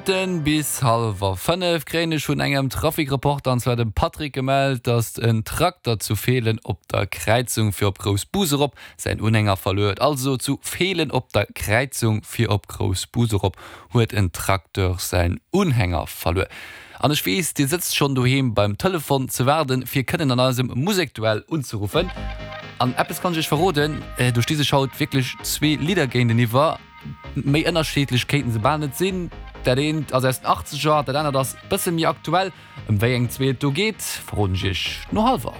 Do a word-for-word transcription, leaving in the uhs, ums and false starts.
Minutten bis hallwer fënnef kréien ech vun engem Trafikreporter, an zwar dem Patrick, gemellt, dass en Trakter zu Feelen op der Kräizung fir op Groussbus erop säin Unhänger verluer huet. Also zu Feelen op der Kräizung fir op Groussbus erop huet en Tracteur säin Unhänger verluer. An ech weess, dir sëtzt schonn doheem beim Telefon ze waarden, fir kënnen an eisem Musekduell unzeruffen. An eppes kann ech iech verroden, do sti sech haut wierklech zwee Lidder géinteniwwer. Méi ënnerschiddlech kéinten se bal net sinn. Dat eent ass aus den Achtzeger, dat anert ass bësse méi aktuell. Ëm wéi eng zwee et do geet, verroden ech iech no hallwer.